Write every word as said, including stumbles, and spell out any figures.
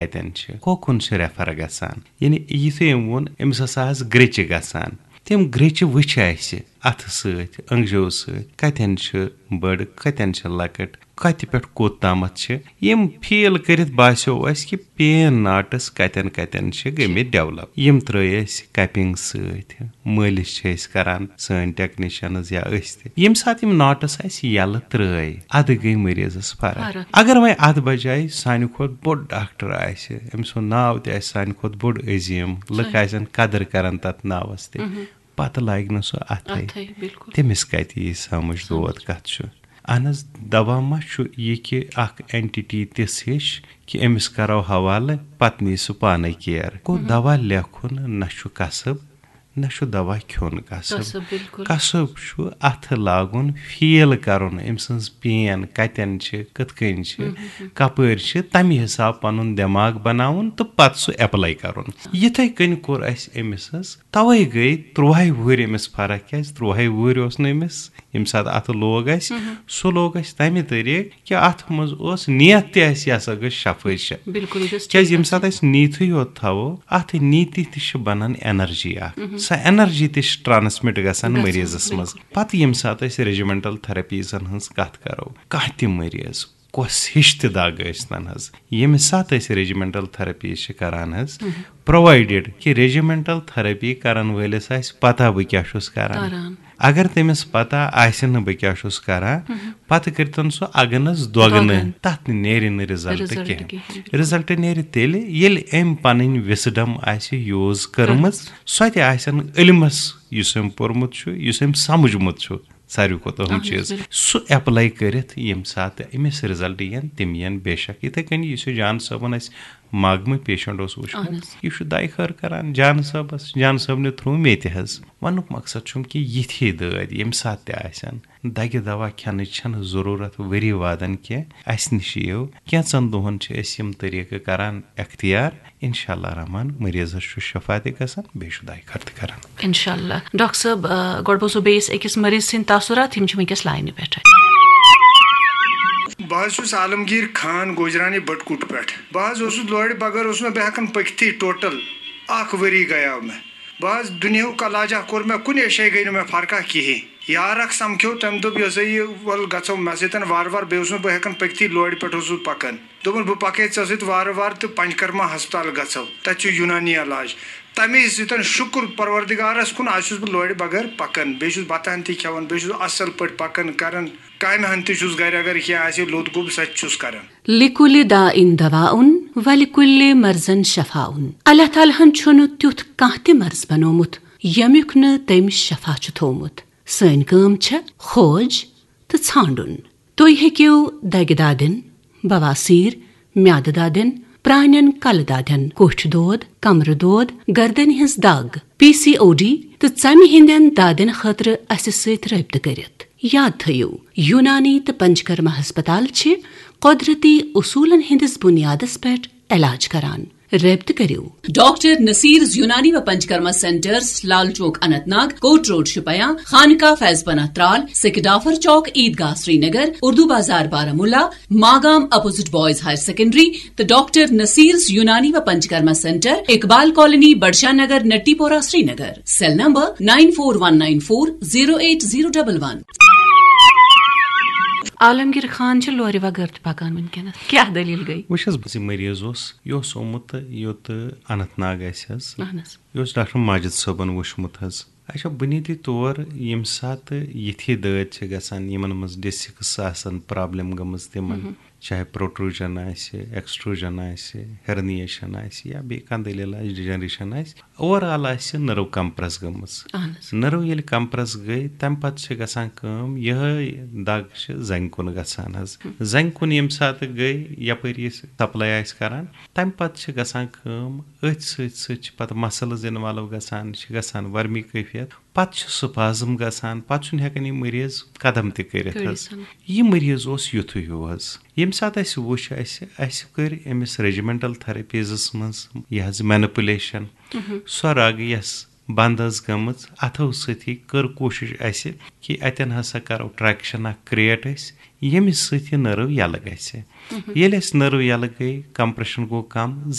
کتٮ۪ن چھِ، کوکُن چھِ ریفر گژھان۔ یعنی یِتھُے أمۍ ووٚن، أمِس ہسا آسہٕ گریٚچہِ گژھان۔ تِم گریٚچہِ وٕچھِ اَسہِ اَتھٕ سۭتۍ، أنٛگجو سۭتۍ، کتٮ۪ن چھِ بٔڑ، کتٮ۪ن چھِ لۄکٕٹ، کتہِ پٮ۪ٹھ کوٚت تامَتھ چھِ۔ یِم فیٖل کٔرِتھ باسیو اَسہِ کہِ پین ناٹٕس کتٮ۪ن کتٮ۪ن چھِ گٔمٕتۍ ڈیولپ۔ یِم ترٲے اَسہِ کپنگ سۭتۍ، مٲلِش چھِ أسۍ کران، سٲنۍ ٹیکنیشنز یا أسۍ تہِ۔ ییٚمہِ ساتہٕ یِم ناٹٕس اَسہِ یَلہٕ ترٲے، اَدٕ گٔے مریضس فرق۔ فرق۔ اگر وۄنۍ اَتھ بجایہِ سانہِ کھۄتہٕ بوٚڑ ڈاکٹر آسہِ، أمۍ سُنٛد ناو تہِ آسہِ سانہِ کھۄتہٕ بوٚڑ عظیٖم، لُکھ صحیح۔ آسن قدٕر کران تتھ ناوس تہِ، مہم۔ پتہٕ لاگہِ نہٕ سُہ اَتھے۔ اَتھے، بِلکُل۔ تٔمِس کتہِ یی سمجھ سمجھ۔ دود کتھ چھُ؟ اہن حظ، دوا ما چھُ یہِ کہِ اکھ اینٹیٹی تِژھ ہِش کہِ أمِس کرو حوالہٕ، پتہٕ نی سُہ پانے کیر؟ گوٚو، مہم۔ دوا لیکھُن نہ چھُ کسب، نہ چھُ دوا کھیوٚن کسب۔ کسب، بِلکُل۔ کسب چھُ اَتھٕ لاگُن، فیٖل کَرُن، أمۍ سٕنٛز پین کَتٮ۪ن چھِ، کِتھ کٔنۍ چھِ، مہم۔ کَپٲرۍ چھِ، تَمہِ حِساب پَنُن دٮ۪ماغ بَناوُن تہٕ پَتہٕ سُہ ایپلاے کَرُن۔ یِتھَے کٔنۍ کوٚر اَسہِ أمِس حظ، تَوَے گٔے تُرٛوہَے وُہٕرۍ أمِس فرق۔ کیٛازِ؟ تُرٛوہَے وُہٕرۍ اوس نہٕ أمِس، ییٚمہِ ساتہٕ اَتھٕ لوگ اَسہِ، مہم۔ سُہ لوگ اَسہِ تَمہِ طٔریٖقہٕ کہِ اَتھ منٛز اوس نیت تہِ اَسہِ، یہِ ہسا گٔژھ شفٲیی چھےٚ۔ بِلکُل، یہِ گٔژھ کیٛازِ ٹھیٖک ییٚمہِ ساتہٕ آسٕنۍ۔ أسۍ نیٖتھٕے یوت تھاوو، اَتھ نیٖتی تہِ چھِ بَنان انرجی اَکھ۔ مہم۔ سۄ انرجی تہِ چھِ ٹرانسمِٹ گژھان گژھان، مریضس منٛز۔ بِلکُل۔ پَتہٕ ییٚمہِ ساتہٕ أسۍ ریجیمنٹل تھراپیٖزن ہٕنٛز کَتھ کَرو، کانٛہہ تہِ مریض، کۄس ہِش تہِ دگ ٲسۍ تن حظ، ییٚمہِ ساتہٕ أسۍ ریجیمنٹل تھراپیٖز چھِ کران حظ، مہم۔ پرووایڈڈ کہِ ریجیمنٹل تھراپی کرن وٲلِس آسہِ پتہ بہٕ کیٛاہ چھُس کران۔ کران۔ اگر تٔمِس پتہ آسہِ نہٕ بہٕ کیٛاہ چھُس کران، مہم۔ پتہٕ کٔرتن سُہ اگنس دۄگنہٕ، دۄگن۔ تتھ نیرِ نہٕ رِزلٹ رِزلٹ کینٛہہ۔ کینٛہہ۔ رِزلٹ نیرِ تیٚلہِ، ییٚلہِ أمۍ پنٕنۍ وِزڈم آسہِ یوٗز کٔرمٕژ، کٔرمٕژ۔ سۄ تہِ آسن علمس، یُس أمۍ پوٚرمُت چھُ، یُس أمۍ سمجھمُت چھُ، ساروی کھۄتہٕ اہم اہن حظ، چیٖز، بِلکُل۔ سُہ ایپلاے کٔرِتھ، ییٚمہِ ساتہٕ أمِس رِزلٹ یِن، تِم یِن بے شک۔ یِتھے کٔنۍ یُس یہِ جان صٲبن اَسہِ ماگمہٕ پیشنٹ اوس وٕچھمُت، اہن حظ۔ یہِ چھُ دعایہِ خٲر کران جان صٲبس، جان صٲبنہِ تھروٗ مےٚ تہِ حظ۔ ونُک مقصد چھُم کہِ یِتھی دٲدۍ ییٚمہِ ساتہٕ تہِ آسن، دگہِ دوا کھٮ۪نٕچ چھنہٕ ضروٗرت ؤری وادن کینٛہہ۔ اسہِ نِش یِیِو، کینٛژن دۄہن چھِ أسۍ یِم طریٖقہٕ کران اختیار۔ انشاءاللہ رحمان، مریضس چھُ شفا تہِ گژھان، بیٚیہِ چھُ دعایہِ خٲر تہِ کران۔ انشاءاللہ۔ ڈاکٹر صٲب، آ، گۄڈٕ بوزو بیٚیِس أکِس مریض سٕنٛدۍ تاثرات، یِم چھِ وٕنکیٚس لاینہِ پٮ۪ٹھ۔ بہٕ حظ چھُس عالمگیر خان، گوجرانی بٹکوٹ پٮ۪ٹھ۔ بہٕ حظ اوسُس لورِ بغٲر اوسُس نہٕ بہٕ ہٮ۪کان پٔکِتھٕے، ٹوٹل اکھ ؤری گٔیاو مےٚ۔ بہٕ حظ دُنیاہُک علاجہ کوٚر مےٚ، کُنہِ جایہِ گٔے نہٕ مےٚ فرقہ کِہیٖنۍ۔ یارکھ سمکھیو، تٔمۍ دوٚپ، یہِ ہسا یہِ، وَل گژھو مےٚ سۭتۍ وارٕ وارٕ، بیٚیہِ اوسُس نہٕ بہٕ ہٮ۪کان پٔکِتھٕے، لورِ پٮ۪ٹھ اوسُس بہٕ پکان۔ دوٚپُن، بہٕ پکے ژےٚ سۭتۍ وارٕ وارٕ تہٕ پنچکرما ہسپتال گژھو، تتہِ چھُ یونانی علاج۔ تمے سۭتۍ شُکر پروردگارس کُن، از چھُس بہٕ لورِ بغٲر پکان، بیٚیہِ چھُس بتہٕ ہن تہِ کھٮ۪وان، بیٚیہِ چھُس اصل پٲٹھۍ پکان کران، کامہِ ہن تہِ چھُس گرِ، اگر کینٛہہ آسہِ، لوٚت گوٚب، سۄ تہِ چھُس کران۔ لِکُلِ داء دواء وَلِکُلِ مَرْضٍ شَفَاءٌ۔ اللہ تعالیٰ ہن چھُنہٕ تیُتھ کانٛہہ تہِ مرض بنوومُت، ییٚمیُک نہٕ تٔمۍ شفا چھُ تھوومُت۔ سٲنۍ کٲم چھےٚ کھوج تہٕ ژھانٛڈُن۔ تُہۍ ہیٚکِو دگہِ دادٮ۪ن، بواسیر، میادٕ دادٮ۪ن، پرٛانٮ۪ن کلہٕ دادٮ۪ن، کوٹھۍ دود، کمرٕ دود، گردنہِ ہٕنٛز دگ، پی سی او ڈی تہٕ ژمہِ ہٕنٛدٮ۪ن دادٮ۪ن خٲطرٕ اسہِ سۭتۍ رٲبطہٕ کٔرِتھ۔ یاد تھٲیِو، یونانی تہٕ پنچکرما ہسپتال چھِ قۄدرتی اصوٗلن ہٕنٛدِس بُنیادس پٮ۪ٹھ علاج کران۔ رٲبطہٕ کٔرِو۔ ڈاکٹر نصیرز یونانی و Panchakarma centres, Lal Chowk Anant Nag, Kot road Shopian, Khanqah Faiz Panah Tral, Sekidafar Chowk, Eidgah Srinagar, Urdu Bazaar Baramulla, Magam opposite boys higher secondary, تہٕ ڈاکٹر نصیرز یونانی و Panchakarma centre, Iqbal colony, Budshah Nagar, Natipora, Srinagar. Cell number nine four one nine four zero eight zero double one. Alamgir Khan چھِ لورِ وغٲر تہِ پکان وٕنکیٚنس۔ کیٛاہ دٔلیٖل گٔے؟ وٕچھ حظ، بہٕ زِ مریض اوس، یہِ اوس آمُت یوٚت اننت ناگ آسہِ حظ۔ اہن حظ۔ یہِ اوس ڈاکٹر ماجد صٲبن وٕچھمُت حظ۔ اچھا، بُنیٲدی طور ییٚمہِ ساتہٕ یِتھی دٲدۍ چھِ گژھان، یِمن منٛز ڈسکس آسن پرابلم گٔمٕژ تِمن، مہم۔ چاہے پروٹروجن آسہِ، ایکسٹروجن آسہِ، ہرنیشن آسہِ یا بیٚیہِ کانٛہہ دٔلیٖل آسہِ، ڈیجنریشن آسہِ، اوور آل آسہِ نٔرو کمپریس گٔمٕژ۔ اہن حظ۔ نٔرو ییٚلہِ کمپریس گٔے، تمہِ پتہٕ چھِ گژھان کٲم، یِہے دگ چھِ زنٛگہِ کُن گژھان حظ۔ ہم۔ زنٛگہِ کُن ییٚمہِ ساتہٕ گٔے، یپٲرۍ یہِ سپلاے آسہِ کران، تمہِ پتہٕ چھِ گژھان کٲم، أتھۍ سۭتۍ سۭتۍ چھِ پتہٕ مسلز انوالو گژھان، چھِ گژھان ورمی کیفیت، پتہٕ چھُ سپازم گژھان، پتہٕ چھُنہٕ ہٮ۪کان یہِ مریض قدم تہِ کٔرِتھ حظ۔ کٔرِتھ۔ یہِ مریض اوس یُتھُے ہیوٗ حظ۔ ییٚمہِ ساتہٕ اَسہِ وُچھ، اَسہِ، اَسہِ کٔرۍ أمِس ریجیمنٹل تھراپیٖزس منٛز یہِ حظ مینپولیشن، مہم۔ سۄ رگ یۄس بنٛد ٲس گٔمٕژ، اَتھو سۭتی کٔر کوٗشِش اَسہِ کہِ اَتٮ۪ن ہسا کَرو ٹرٛیکشن اکھ کریٹ أسۍ، ییٚمہِ سۭتۍ یہِ نٔرٕو یَلہٕ گژھِ۔ ییٚلہِ اَسہِ نٔرٕو یَلہٕ گٔے، کمپریشن گوٚو کم،